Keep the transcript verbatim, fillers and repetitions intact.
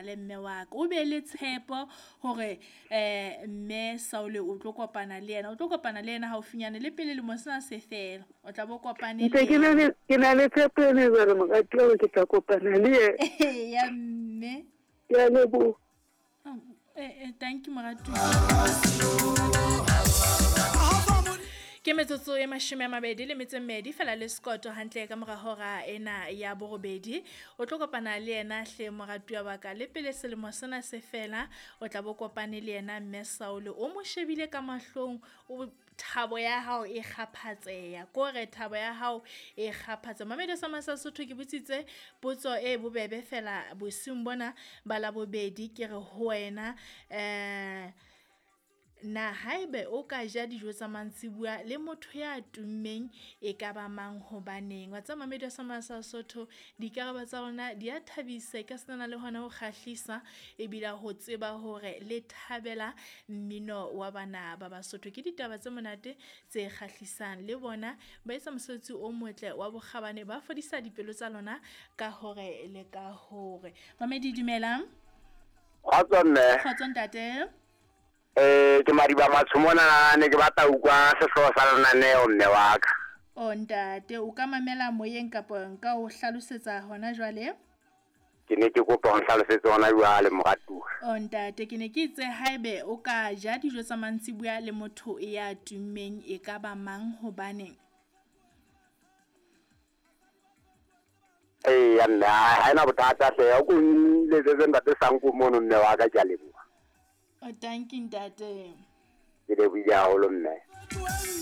le mme wa ka. O be le tshepo hore eh mme Saule o tlo kopana le yena, o tlo kopana le yena haufinyane le pele lemo sena se fela. O tla bo kopane Ntse ke na le ke na le tshepo ena jwale moratuwa hore ke tla kopana le yena. Ya mme. Ke a leboha. Oh, eh, eh, thank you moratuwa. Ke metsotso e mashome a mabedi le metso e mmedi fela le sekoto hantle ka mora hora ena ya borobedi. O tlo kopana le yena hle moratuwa wa ka le pele selemo sena se fela, o tla bo kopane le yena mme Saule. O mo shebile ka mahlong, o thabo ya hao e kgaphatseha, kore thabo ya hao e kgaphatseha. Mamedi sa Masasotho ke botsitse potso e bobebe fela bosiung bona ba Labobedi ke re ho wena eh na haebe o ka ja dijo tsa mantsibuya le motho ya tummeng e ka ba mang hobaneng? Wa tseba mamedi sa Masasotho dikarabo tsa rona di a thabisa, e ka senana le hona ho kgahlisa ebile ho tseba hore le thabela mmino wa bana ba Basotho. Ke ditaba tse monate tse kgahlisang le bona ba etsa mosebetsi o motle wa bokgabane, ba fodisa dipelo tsa lona ka hore le ka hore. Mamedi dumelang. Kgotso mme. Kgotso ntate. Eh ke Madiba Matsho mona, ne ke batla utlwa sehlooho sa lenaneo mme wa ka. O ntate, o ka mamela moyeng kapa nka o hlalosetsa hona jwale? Ke ne ke kopa ho nhlalosetse hona jwale moratuwa. O ntate, ke ne ke itse haebe o ka ja dijo tsa mantsibuya le motho ya tummeng e ka ba mang hobaneng? Eh ya mme, ha ena bothata hle, o ko nletsetse ntate Sanko mono mme wa ka, ke a leboha. O thank you ntate. Ke lebohile haholo mme.